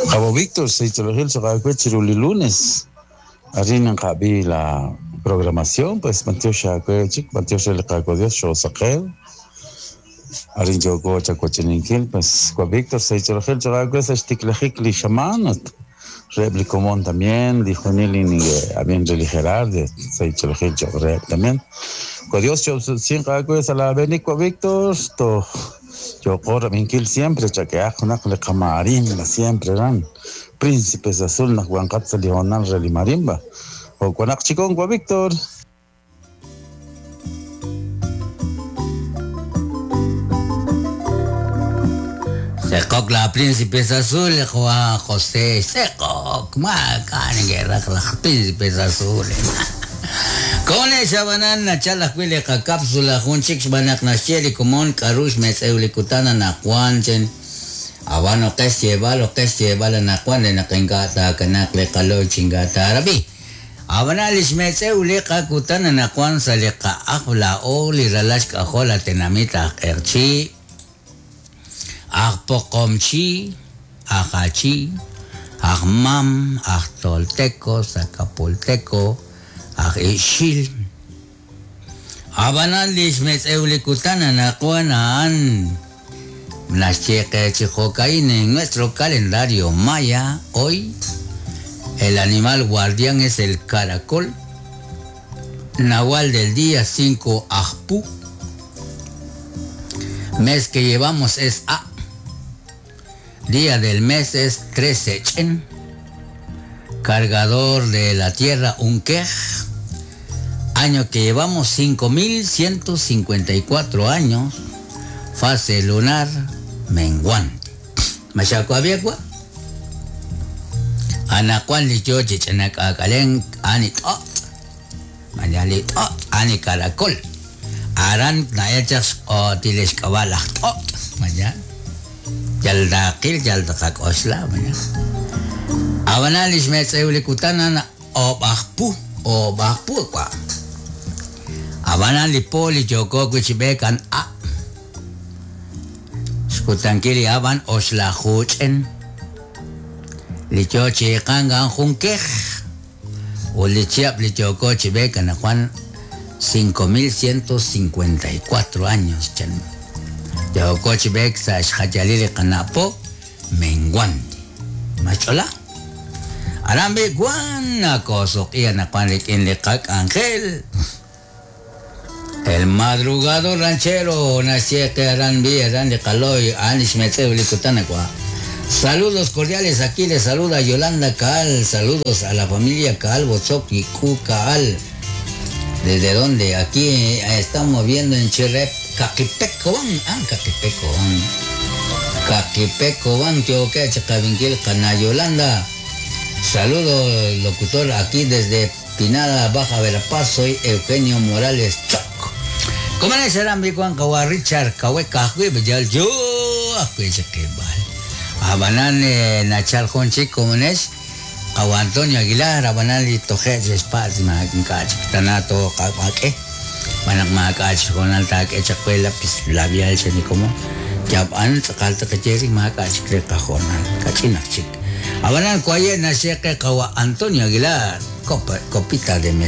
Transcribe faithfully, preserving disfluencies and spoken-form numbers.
Cabo Víctor, Seichorogil Chiruli lunes. Arin en la programación, pues Mantioxa Chik, Mantioxa el Dios, Shosaqel. Arin Yoko Chacocheninkil, pues Víctor, Seichorogil Chagüe, Sechtiklejik, Lishamanat. Replicomón también, dijo Nili, habían religerar de Seichorogil Chagüe también. Dios, yo sin a la Benico Víctor, to. Yo corro minkil siempre, chaqueajo, le camarimba, siempre eran príncipes azul, nahuancatza, lional, relimarimba. O cuanachicón, Víctor. Secoc la príncipes azul, Juan José, Secoc, macan, guerra, príncipes azules. Con esa banana, chalas huile cápsula, junchix banak nashieli, común, carush, mes eulicutana, nacuanchen, abano que lleva, lo que lleva la nacuan, de naquengata, canacle, calor, chingata, arabi. Abanalis mes eulica, cutana, nacuan, salica, ajla, oli, ralashka, jola, tenamita, erchi, ajpocomchi, ajachi, ajmam, ajtolteco, zacapulteco, Ixil. Abanal lishmetz eulicutana nacuana an. Chijocaín en nuestro calendario maya, hoy el animal guardián es el caracol. Nahual del día cinco Ajpu. Mes que llevamos es A. Día del mes es trece Chen. Cargador de la tierra, un quej. Año que llevamos cinco mil ciento cincuenta y cuatro años. Fase lunar menguante. Machacoabiacua. Anacuan lichochi chanacacalen ani tot. Mañali tot ani caracol. Aran naechas o tilescabalaj tot. Mañana. Yaldaqil yaldaqacosla mañana. Abanalis metz eulicutana o bajpu o bajpu kwa. Abanali poli yoko kuchibekan a. Skutankiri aban oslajuchen. Lichochi kangan junkej. O lichiap lichoko chibekan Juan cinco mil ciento cincuenta y cuatro años chan. Yoko chibek sa xhayalili kanapo menguante. Machola. Arambe guanaco Ángel. El madrugador ranchero nació Arambi Arandi Caloy Anish Metzebulicutanacua. Saludos cordiales, aquí les saluda Yolanda Caal. Saludos a la familia Caal Bozoc y Cu Caal. ¿Desde dónde? Aquí estamos viendo en Chirrep, Caquipecoban. Ah, Caquipecoban. Caquipecoban, que Chacavinquil, Cana Yolanda. Saludos, locutor, aquí desde Pinada, Baja Verapaz, soy Eugenio Morales Choc. ¿Cómo es el Richard Kahueca? Yo, Abanane Nachal Jonchi, ¿cómo es? Antonio Aguilar, Abanali Toje, Spaz, Tanato, Kaque, Manakmakach, Jonalta, Echacuela, Labial, Chenicomo, Yaban, Calta, Cacheri, Macach, Creca, Jonal, Cachina, Chic. Abanan Cuaye, Nacheque, Kawa, Antonio Aguilar, Copita de Mezcal.